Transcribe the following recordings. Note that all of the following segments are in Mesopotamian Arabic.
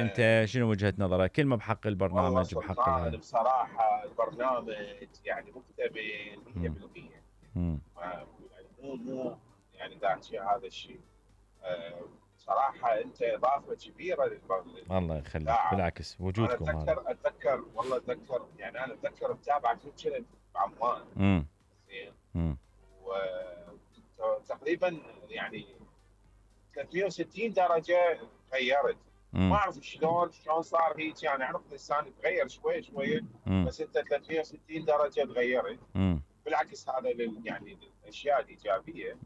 انت شنو وجهة نظرك؟ كلمة بحق والله البرنامج بحق سلطان بصراحة البرنامج يعني مكتمل 100%. امم يعني مو يعني داعي هذا الشيء. صراحة أنت إضافة كبيرة الله يخليك، للإذاعة. بالعكس أنا وجودكم هذا. أتذكر يعني أنا أتذكر متابعة كل كنت بعمان. امم زين. امم وتقريبا يعني 360 درجة تغيرت. ما أعرف شلون صار هيك، يعني أعرف الإنسان يتغير شوي شوي، بس أنت 360 درجة تغيرت. بالعكس هذا يعني للأشياء الإيجابية.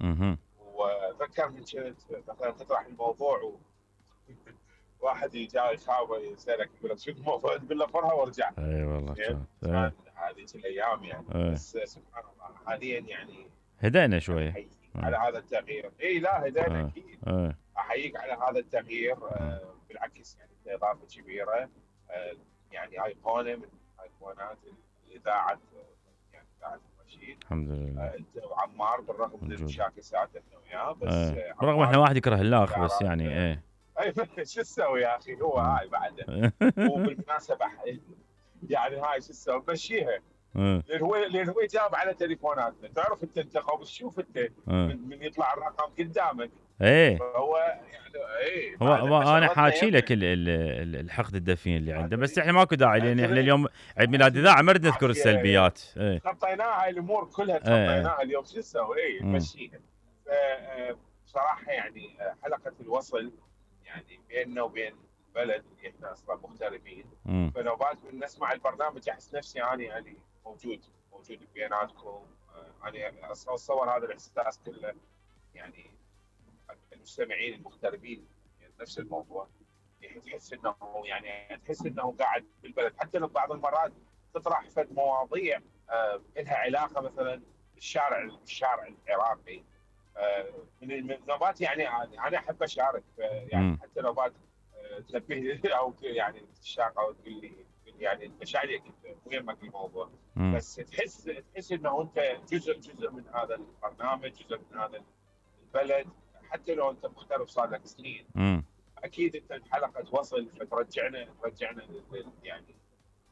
وذكر من كنت مثلا تطرح الموضوع واحد جاي يخابر يسالك يقول لك شو الموضوع، تقول له فرها وارجع. اي والله زين. كان كان هذه الايام يعني. بس سبحان الله حاليا يعني هدأنا يعني شويه. احييك على هذا التغيير. اي لا هدينا اكيد. اي احييك على هذا التغيير. بالعكس يعني اضافه كبيره. يعني ايقونه من ايقونات الاذاعه، يعني اذاعه الرشيد. الحمد لله. انت وعمار بالرغم من موجود. المشاكسات احنا وياه، بس برغم احنا عمار واحد يكره الاخ بس اختيارات. يعني ايه. اي شو تسوي يا اخي، هو هاي بعده. وبالمناسبه يعني هاي شو تسوي مشيها. لان هو يجاوب على تليفوناتنا، تعرف انت خبص شوف انت من يطلع الرقم قدامك. ايه فهو يعني ايه هو انا شغلتنا حاكي لك يمه. الحقد الدفين اللي عنده، بس احنا ماكو داعي لان احنا ادري اليوم عيد ميلاد اذاعه ما نريد نذكر عافيه. السلبيات. ايه تخطيناها هاي الامور كلها، ايه تخطيناها اليوم، شو نسوي؟ ايه نمشيها. بصراحه يعني حلقه الوصل يعني بيننا وبين البلد اللي احنا اصلا مغتربين. فنوبات من نسمع البرنامج احس نفسي اني يعني موجود بيناتكم. انا اتصور هذا الاحساس كله يعني المستمعين المغتربين يعني نفس الموضوع. يعني تحس انه قاعد بالبلد، حتى لو بعض المرات تطرح فد مواضيع لها علاقه مثلا بالشارع العراقي. من النوبات يعني انا احب اشارك. يعني حتى نوبات تنبه او يعني تشاق او تقول لي يعني انت شايلك مو يمك الموضوع. بس تحس انه انت جزء من هذا البرنامج، جزء من هذا البلد. حتى لو انت مغترب صار لك سنين، اكيد انت الحلقه توصل فترجعنا يعني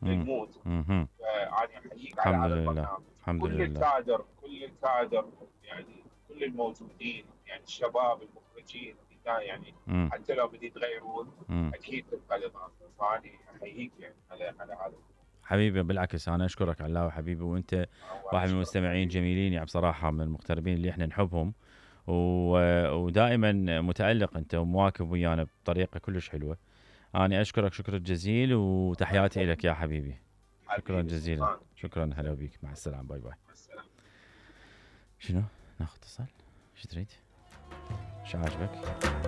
للمود. فانا احييك على الحمد هذا لله. البرنامج. الحمد كل لله. الكادر يعني كل الموجودين يعني الشباب المخرجين يعني حتى لو بدي يتغيرون اكيد تبقى الاضافه. فانا احييك يعني على هذا. حبيبي بالعكس انا اشكرك علاوي حبيبي، وانت واحد من المستمعين جميلين يعني بصراحه، من المغتربين اللي احنا نحبهم، ودائما متالق انت ومواكب ويانا بطريقه كلش حلوه. انا اشكرك شكر جزيل وتحياتي لك يا حبيبي. شكرا جزيلا. شكرا، هلا بيك، مع السلامه، باي باي. مع السلامه. شنو ناخذ اتصال؟ ايش تريد؟ ايش عاجبك؟